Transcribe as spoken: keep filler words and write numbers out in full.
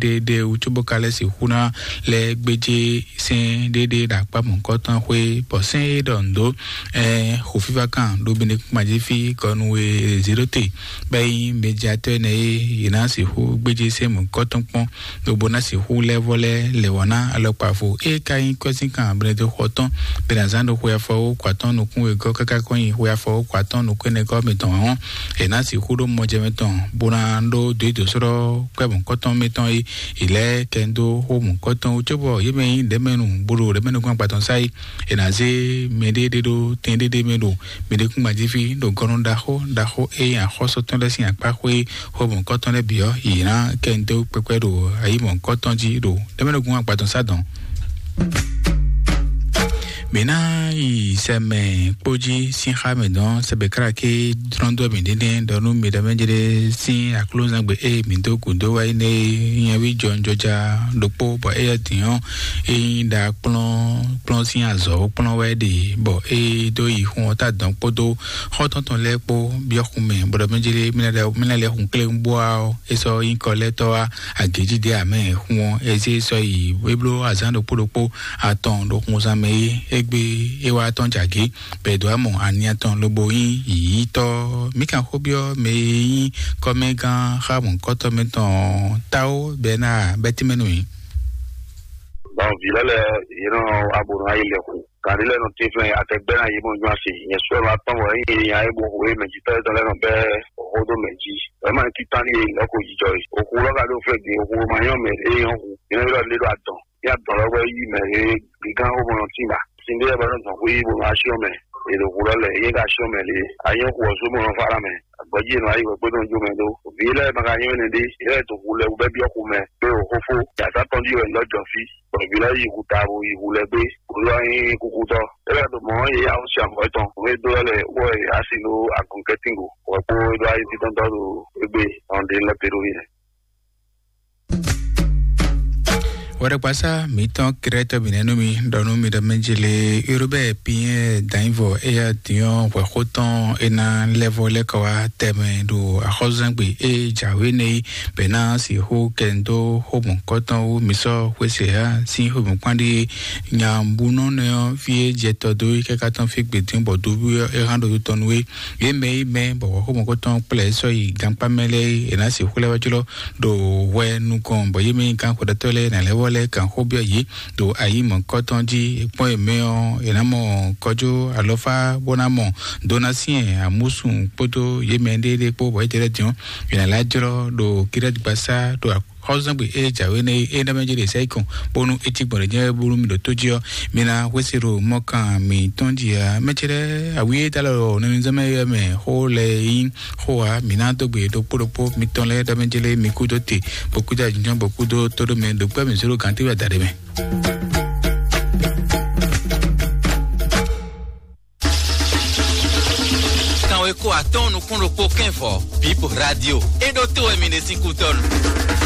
ɖéɖé wú cóbó ka lɛ́ sixú ná lɛ́ gbéjé sɛ́n ɖéɖé ɖo akpá mɔ̌hunkɔtɔn xwé, bɔ sɛ́n e ɖɔ nǔ dó xo fífá kan ɖo Benekúnmají fí kɔnu e zěɖóte bɔ é nyí mɛjatɔ́ énɛ́ e yě ná sixú gbéjé sɛ́n mɔ̌hunkɔtɔn kpɔ́n, lobo ná sixú lɛ́ vɔ lɛ́ lɛ wɔ̌ ná alɔkpafo e ka nyí kwɛ́sínkan Benedikto xɔ tɔn, bɛnazán ɖo xwe afɔwó kɔ atɔ́ɔ́n nukún wegɔ́ káká kɔn nyi xwe afɔwó kɔ atɔ́ɔ́n nukún ɛnɛgɔ́ mɛ tɔn hɔn, è nǎ sixú ɖó mɔjɛmɛ tɔn bó ná ɖó dǒ yi dǒ sɔ́ kwɛ́ mɔ̌hunkɔtɔn mɛtɔn e è lɛ́ kɛ dó xó mɔ̌hunkɔtɔn wú cóbɔ yě mɛ nyí ɖɛ̌mɛnu bó ɖo ɖɛ̌mɛnukún akpa tɔn sá yi. È nǎ zé mɛɖé ɖé ɖó tɛn ɖéɖé mɛ ɖo mɛɖékúngban jí fí ɖo gɔ́nú ɖaxó ɖaxó e nyí axɔ́sɔtɔn lɛ́ɛ sín akpá xwé xó mɔ̌hunkɔtɔn lɛ́ɛ bǐ ɔ́, yě ná kɛ dó kpɛkpɛ ɖo ayǐ mɔ̌hunkɔtɔn jí ɖo ɖɛ̌mɛnukún akpa tɔn sá dɔn. Mǐ ná yi sɛmɛ kpó jí sín xá mɛ dɔn sɛbɛkráké dlɔ́ndɔ́ mǐ ɖéɖé ɖɔ nú mi ɖɔ mɛ jɛɖɛ sín aklúzangbe e mǐ dó gǔdo wá yi nɛ nyaví jɔnjɔja ɖokpó bɔ éyɛ́ dǐn ɔ́, é nyí ɖa kplɔ́n kplɔ́n sín azɔ̌ kplɔ́n wɛ ɖe bɔ é dó yi xun ɔ́ ta dɔn kpódó xɔ́ntɔn tɔn lɛ́ɛ kpó byɔ́ xun mɛ bɔ ɖɔ mɛ jɛɖɛ mɛ lɛ́ hun kléwún bó wá ɔ́, é sɔ́ nyí kɔlɛ́tɔ́ wá agějí ɖé amɛ xun ɔ́, é zé sɔ́ yi é bló azǎn ɖokpó ɖokpó atɔn ɖo xunzán mɛ é égbé é wá tɔn jagě bɔ è dǒ amɔ ani atɔn lobo nyí yǐyítɔ́. Mǐ kan xó byɔ́ mɛ e nyí kɔ́mɛgán xá mɔ̌hunkɔtɔn mɛ tɔn Táwó Bɛnáa Bɛtímɛnu é. Bɔn vǐ lɛ́ lɛ́ɛ yě nɔ wá bó nɔ wá yi lɛ́ xu. Gǎn ɖé lɛ́ɛ nɔ tín flɛ́n atɛgbɛ́ ná yě mɔ nyɔ́ asi. Nyɛ sɔ́ nɔ atɔ́n bɔ é nyí nya e bo xo é mɛ jitɔ́ lɛ́ɛ tɔn lɛ́ɛ nɔ bɛ́ xó dó mɛ jí. Wɛ ma nyí títán ɖíe lɛ́ ko jijɔ é. Oxu lɔ ka ɖó flɛ́ din, oxu ma nyɔ́ mɛ ɖé nyɔ́ hu. Yě nɔ ylɔ́ ɖé ɖo adɔn. Yá dɔ̌n lɔ́ wɛ yí mɛ ɖé gígán xó mɔ nɔ tín ba. Sin ɖé lɛ́ɛ ba nɔ dɔn xwé yí bó nɔ asyɔ́ mɛ. È ɖo hu lɔ lɛ, yé ka asyɔ́ mɛ lě. A nyɔ́ hu ɔ́ só mɔ nɔ fá ná mɛ. Agbɔ̌jí è nɔ wá yi hwɛ kpódó nǔjó mɛ ɖó. Vǐ lɛ́ɛ ma ka nyɔ́ énɛ́ ɖé. Yě lɛ́ɛ to hu lɛ wú bɛ́ byɔ́ xu mɛ. Pé o xófó. Yàtá tɔn ɖi wɛ lɔ jɔ fí. Bɔ vǐ lɛ́ɛ yi hu ta bo yi hu lɛ gbé. Hu lɔ nyí kúkútɔ́. É lɛ́ɛ ɖo mɔ̌ yě yá wú sí avɔ tɔn. Nǔ e dó lɛ́ lɛ́ɛ wɔ yě á sin ɖó agɔnkɛ́tín go. Wɛ kpó é ɖó ayé títɔ́ntɔ́ ɖo égbé ɔn ɖé lɛ́ pé ɖó yě. Wɛɖɛkpasá mǐtɔn kɛɖɛtɔ́ mǐnɛ́ nú mi ɖɔ nú mi ɖɔ mɛ jele Urobɛ Pinyɛ Danyivɔ eya diɔ hwɛxó tɔn e ná lɛ́ vɔ lɛ́ kɔ wá tɛmɛ ɖo axɔ́zúzángbe e jǎwe nɛ yi bɛ ná sixú kɛ dó xomɔ̌kɔtɔn wú mi sɔ́ xwésɛ́ sín xomɔ̌kpán ɖíe nyabunɔ nɛ ɔ́ fí e jɛ tɔ dó yi káká tɔn fí gbedín bɔ dó é hán ɖo tɔn nú é. Yě mɛ yi mɛ bɔ xomɔ̌kɔtɔn kplɛ sɔ́ yi gankpá mɛ lɛ́ɛ é ná sixú lɛ́ wá jlɔ́ ɖo hwɛ nukɔn bɔ yě mɛ nyí gǎn xwedɔtɔ́ lɛ́ɛ nǎ lɛ́ wɔ lɛ́ kan xó byɔ́ yě ɖo ayi mɔ̌hunkɔtɔn jí. È kpɔ́n yě mɛ ɔ́, è nǎ mɔ kɔjó alɔfá bó ná mɔ dónásyɛn amúsùn kpódó yě mɛ ɖéeɖée kpó bɔ yě jɛ lɛ́ din ɔ́, è nǎ lɛ́ jlɔ́ ɖo Gileadi gbasá ɖo xɔ́zɔ́ngbe e jǎwe nɛ́ é ná mɛ jɛ ɖe sɛ́ yi kɔn bónú é cí gbɔn ɖě jɛ́n bónú mi ɖo tó jí ɔ́, mi ná hwesero mɔkan mǐtɔn jí ǎ. Mɛ ce lɛ́ɛ awi e dó alɔ nɛnɛzɔmɛ yɛ mɛ xó lɛ yí xó ǎ, mǐ ná dó gbe ɖokpó ɖokpó mitɔn lɛ́ɛ ɖɔ mɛ jɛ lé mi kú dó te, bó kú dó ajínjɔ́n, bó kú dó tóɖó mɛ ɖokpó mǐ zó ɖó gǎn téwú adaɖé mɛ. Kanweko atɔ́ɔ́n nukún ɖokpó kɛ́nvɔ Bib Radio. É ɖó tó wɛ mi ɖe sín kútɔ́nu.